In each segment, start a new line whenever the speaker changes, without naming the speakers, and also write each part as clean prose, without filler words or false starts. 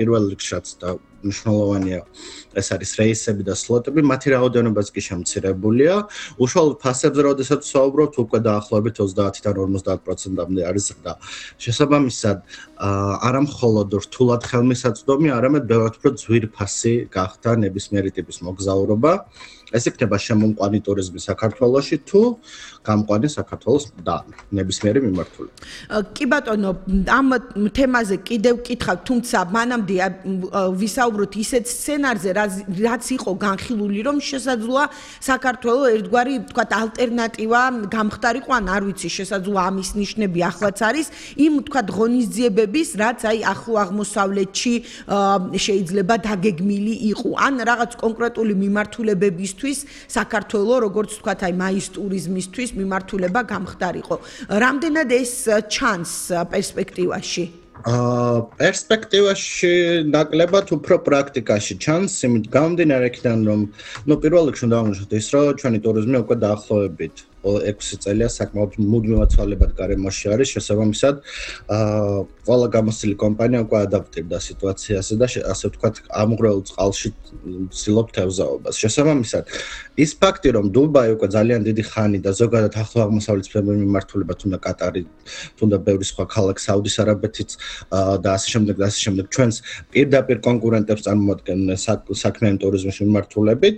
პირველ რიგშიც და მნიშვნელოვანია ეს არის რეისები და სლოტები, მათი რაოდენობაც კი შემცირებულია. უშუალოდ ფასებზე, როდესაც ვსაუბრობთ, უკვე დაახლოებით 30-დან 50%-მდე არის ზრდა. შესაბამისად, არა მხოლოდ რთულად ხელმისაწვდომი, არამედ ბევრად უფრო ძვირფასი გახდა ნებისმიერი ტიპის მოგზაურობა. ეს იქნება შემომყვანი ტურიზმი საქართველოში თუ გამყვანი საქართველოს და ნებისმიერი მიმართულება.
კი ბატონო, ამ თემაზე კიდევ ვკითხავ, თუმცა მანამდე ვისაუბროთ ისეთ სცენარზე, რაც იყო განხილული, რომ შესაძლოა საქართველოს ერთგვარი, ვთქვათ, ალტერნატივა გამხდარიყო, ან არ ვიცი, შესაძლოა ამის ნიშნები ახლაც არის, იმ ვთქვათ, ღონისძიებების, რაც აი ახლო აღმოსავლეთში შეიძლება დაგეგმილი იყო, ან რაღაც კონკრეტული მიმართულებების საქართველოს როგორც ვთქვათ აი მაის ტურიზმისთვის მიმართულება გამხდარიყო. რამდენად ეს ჩანს პერსპექტივაში?
პერსპექტივაში ნაკლებად უფრო პრაქტიკაში ჩანს, იმით გამომდინარე იქიდან რომ პირველ რიგში უნდა აღნიშნოთ ის, რომ ჩვენი ტურიზმი უკვე დაახლოებით 6 წელია საკმაოდ მუდმივად ცვალებად გარემოში არის, შესაბამისად ყველა გამოცდილი კომპანია უკვე ადაპტირდა სიტუაციაზე და ასე ვთქვათ ამღვრეულ წყალში ცდილობს თევზაობას. შესაბამისად, ის ფაქტი, რომ დუბაი უკვე ძალიან დიდი ხანი და ზოგადად ახლო აღმოსავლეთის მიმართულება თუნდა კატარი, თუნდა ბევრი სხვა ქალაქი, საუდის არაბეთიც და ასე შემდეგ ჩვენს პირდაპირ კონკურენტებს წარმოადგენენ საქმიანი ტურიზმის მიმართულებით,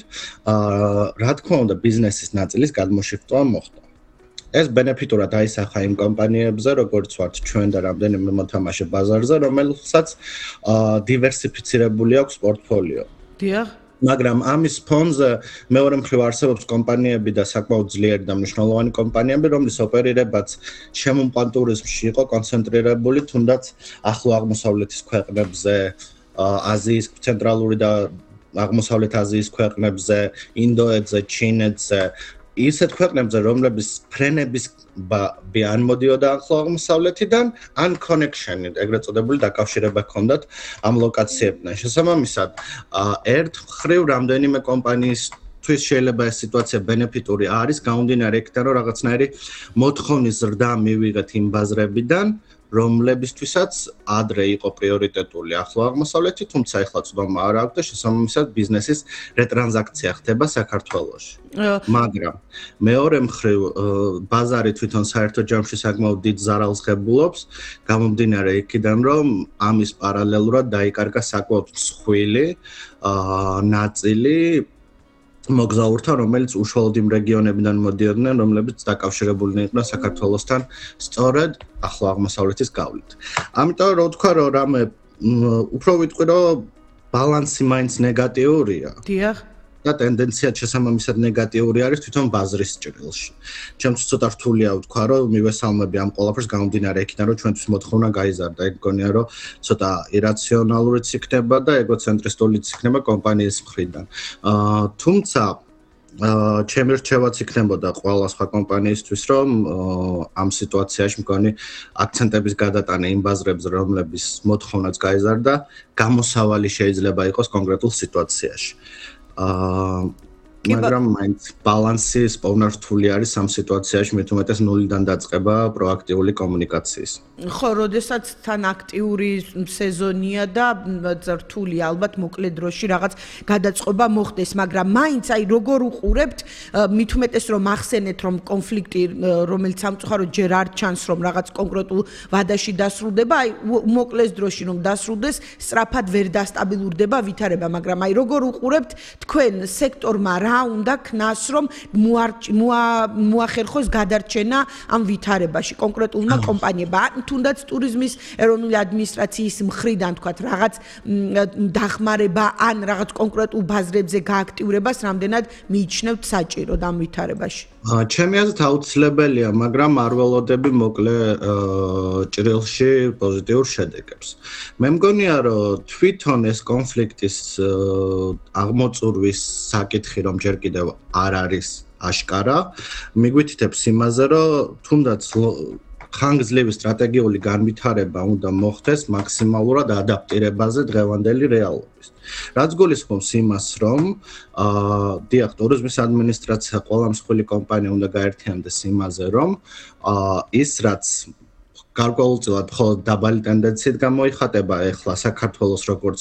რა თქმა უნდა ბიზნესის ნაწილის გადმოშიფტვა მოხდა. ეს ბენეფიტურად აისახა იმ კომპანიებზე, როგორც ვართ ჩვენ და რამდენიმე მოთამაშე ბაზარზე, რომელსაც დივერსიფიცირებული აქვს პორტფოლიო.
დიახ.
მაგრამ ამის ფონზე მეორე მხრივ არსებობს კომპანიები და საკმაოდ ძლიერი და მნიშვნელოვანი კომპანიები, რომლის ოპერირებაც შემომყვან ტურიზმში იყო კონცენტრირებული, თუნდაც ახლო აღმოსავლეთის ქვეყნებზე, აზიის, ცენტრალური და აღმოსავლეთ აზიის ქვეყნებზე, ინდოეთზე, ჩინეთზე, ისეთ ქვეყნებზე, რომლების ფრენების ან მოდიოდა ახლო აღმოსავლეთიდან, ან კონექშენი, ეგრეთ წოდებული დაკავშირება ჰქონდათ ამ ლოკაციებთან. შესაბამისად, ერთ მხრივ რამდენიმე კომპანიისთვის შეიძლება ეს სიტუაცია ბენეფიტური არის, გამომდინარე იქიდან, რომ რაღაცნაირი მოთხოვნის ზრდა მივიღეთ იმ ბაზრებიდან, რომლებისთვისაც ადრე იყო პრიორიტეტული ახლო აღმოსავლეთი, თუმცა ახლა წვდომა არ აქვს და შესაბამისად ბიზნესის რეტრანზაქცია ხდება საქართველოში. მაგრამ მეორე მხრივ ბაზარი თვითონ საერთო ჯამში საკმაოდ დიდ ზარალს ღებულობს, გამომდინარე იქიდან, რომ ამის პარალელურად დაიკარგა საკმაოდ მსხვილი ნაწილი მოგზაურთა, რომელიც უშუალოდ იმ რეგიონებიდან მოდიოდნენ, რომლებიც დაკავშირებულნი იყვნენ საქართველოსთან სწორედ ახლო აღმოსავლეთის გავლით. ამიტომ რო ვთქვა, რომ რამე უფრო ვიტყვი, რომ ბალანსი მაინც ნეგატიურია.
დიახ.
და ტენდენცია შესაბამისად ნეგატიური არის თვითონ ბაზრის ჭრილში. ჩემთვის ცოტა რთულია ვთქვა, რომ მივესალმები ამ ყველაფერს გამომდინარე იქიდან, რომ ჩვენთვის მოთხოვნა გაიზარდა. ეგ მგონია, რომ ცოტა ირაციონალურიც იქნება და ეგოცენტრისტულიც იქნება კომპანიის მხრიდან. თუმცა ჩემი რჩევაც იქნებოდა ყველა სხვა კომპანიისთვის, რომ ამ სიტუაციაში მგონი აქცენტების გადატანა იმ ბაზრებზე, რომლების მოთხოვნაც გაიზარდა, გამოსავალი შეიძლება იყოს კონკრეტულ სიტუაციაში. მაგრამ მაინც ბალანსი სპოვნართული არის ამ სიტუაციაში, მით უმეტეს ნულიდან დაწყება პროაქტიული კომუნიკაციის.
ხო, როდესაც თან აქტიური სეზონია და რთული ალბათ მოკლე დროში რაღაც გადაწყობა მოხდეს, მაგრამ მაინც აი როგორ უყურებთ, მით უმეტეს რომ ახსენეთ, რომ კონფლიქტი, რომელიც სამწუხაროდ ჯერ არ ჩანს, რომ რაღაც კონკრეტულ ვადაში დასრულდება, აი მოკლეს დროში რომ დასრულდეს, სწრაფად ვერ დასტაბილურდება ვითარება, მაგრამ აი როგორ უყურებთ თქვენ სექტორმა რა უნდა ქნას, რომ მოახერხოს გადარჩენა ამ ვითარებაში კონკრეტულმა კომპანიებმა, თუნდაც ტურიზმის ეროვნული ადმინისტრაციის მხრიდან თქვათ რაღაც დახმარება ან რაღაც კონკრეტულ ბაზრებზე გააქტიურებას რამდენად მიიჩნევთ საჭიროდ ამ ვითარებაში?
ჩემი აზრით აუცილებელია, მაგრამ არ ველოდები მოკლე ჭრილში პოზიტიურ შედეგებს. მე მგონია, რომ თვითონ ეს კონფლიქტის აღმოწურვის საკითხი, რომ ჯერ კიდევ არ არის აშკარა, მიგვითითებს იმაზე, რომ თუნდაც ხანგრძლივი სტრატეგიული განვითარება უნდა მოხდეს მაქსიმალურად ადაპტირებაზე დღევანდელი რეალობის. რაც გულისხმობს იმას, რომ დიახ, ტურიზმის ადმინისტრაცია ყველა მსხვილი კომპანია უნდა გაერთიანდეს იმაზე, რომ ის რაც გარკვეულწილად მხოლოდ დაბალი ტენდენციით გამოიხატება ეხლა საქართველოს როგორც